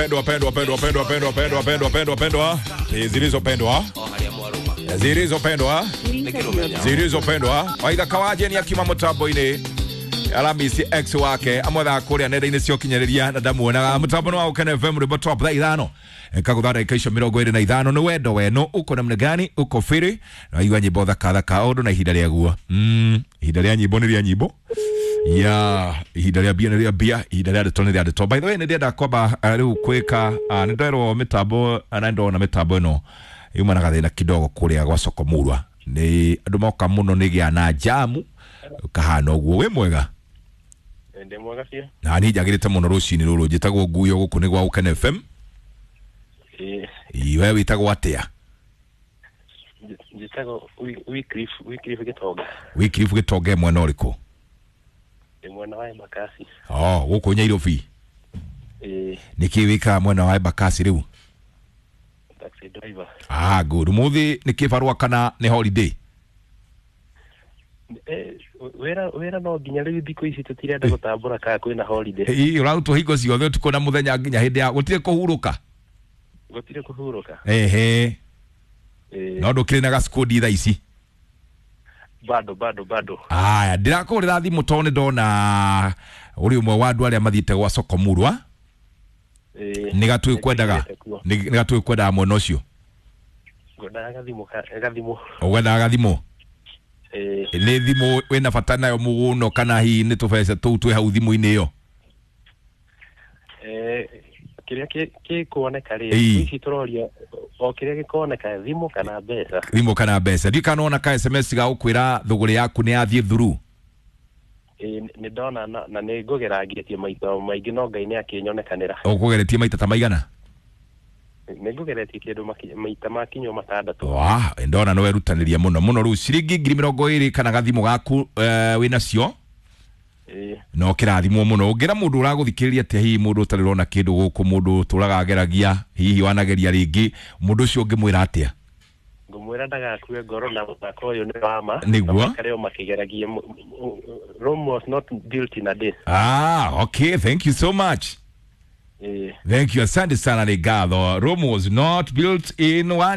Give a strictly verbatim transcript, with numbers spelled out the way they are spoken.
Pendwa, pendwa, pendwa, pendwa, pendwa, pendwa, pendwa, pendwa, pendwa, zilizopendwa, zilizopendwa, zilizopendwa. Waitha kawaje ni akima mutambo-ini Alamisi ex wake amwethaga kuria nenda-inĩ cia ũkinyanĩria na ndamuonaga mũtambo nĩ wa Ukene F M rwĩmbo top thaa ithano kagũtha ndagĩka icio mĩrongo ĩrĩ na ithano nĩ wendo weno uko namna gani uko firi naigua nyĩmbo thaka thaka o ũndũ na ihinda rĩaguo. mm, ihinda rĩa nyĩmbo nĩ rĩa nyĩmbo ya ihinda rĩa mbia nĩ rĩa mbia, ihinda rĩa ndeto nĩ rĩa ndeto. By the way, nĩ ndĩrenda kwamba uh, rĩu kwĩka uh, nĩ nderwo mĩtambo na ndona mĩtambo ĩno yuma na gathĩna kidogo kũrĩa gwa soko murwa nĩ andũ moka mũno nĩ gĩa na jamu kahana ũguo. Wĩ mwega? Ndĩ mwega biũ. Na niĩ njagĩrĩte mũno rũcinĩ rũrũ. Njĩtagwo Nguyo, gũkũ nĩ gwa Ukene F M. Ĩĩ. We wĩtagwo atĩa? Njĩtagwo Wycliffe, Wycliffe Gĩtonga. Wycliffe Gĩtonga mwena ũrĩkũ? Ndĩ mwena wa Embakasi. Oh, gũkũ Nyairobi. Ĩĩ. Nĩkĩ wĩkaga mwena wa Embakasi rĩu? Taxi driver. Ah, good. Ũmũthĩ nĩ kĩbarũa kana nĩ holiday? Eh, wĩra wĩra no nginya rĩu thikũ ici tũtirenda gũtambũra kana kwĩna holiday. Ĩĩ, ũrarutwo hingo ciothe ũtukũ na mũthenya nginya hĩndĩ ya gũtirĩ kũhurũka. Gũtirĩ kũhurũka. Ehe. Ĩĩ. No ndũkĩrĩ na gacikũndi thaa ici? Bado bado bado. Aya, ndĩrakũhũrĩra thimũ tondũ nĩ ndona ũrĩ ũmwe wa andũ arĩa mathiĩte gwa soko murwa. Ĩĩ. Nĩ gatũĩ kwendaga. Nĩ gatũĩ kwendaga mwena ũcio. Ngwendaga gathimũ gathimũ. Ũgwendaga gathimũ? Ĩĩ. Nĩ thimũ wĩna bata nayo mũno kana hihi nĩ tũbeca tũu twĩ hau thimũ-inĩ ĩyo? Eh, kĩrĩa gĩkuoneka rĩ, ici tũroria o kĩrĩa gĩkoneka, thimũ kana mbeca. Thimũ kana mbeca. Ndiũĩ kana wona ka S M S ga gũkwĩra thũgũrĩ yaku nĩ yathiĩ through? Ĩĩ, nĩ ndona na nĩ ngũgerangĩtie maita maingĩ no Ngai nĩ akĩnyonekanĩra. Ũkũgeretie maita ta maigana? Nĩ ngũgeretie kĩndũ maita makinywo matandatũ. Wa, ndona nĩ werutanĩria mũno mũno. Rĩu ciringi ngiri mĩrongo ĩrĩ kana gathimũ gaku wĩnacio? Ĩĩ. No kĩrathimwo mũno. Ũngĩra mũndũ ũragũthikĩrĩria atĩa, hihi mũndũ ũtarĩ ũrona kĩndũ gũkũ, mũndũ ũtũraga ageragia, hihi wanageria rĩngĩ, mũndũ ũcio ũngĩmwĩra atĩa? Ngũmwĩra ndagakue ngoro na mũthako ũyũ nĩ wa ma. Nĩguo. Maikare o makĩgeragia. Rome was not built in a day. Ah, okay, thank you so much. Ĩĩ. Thank you, asante sana nĩ ngatho. Rome was not built in one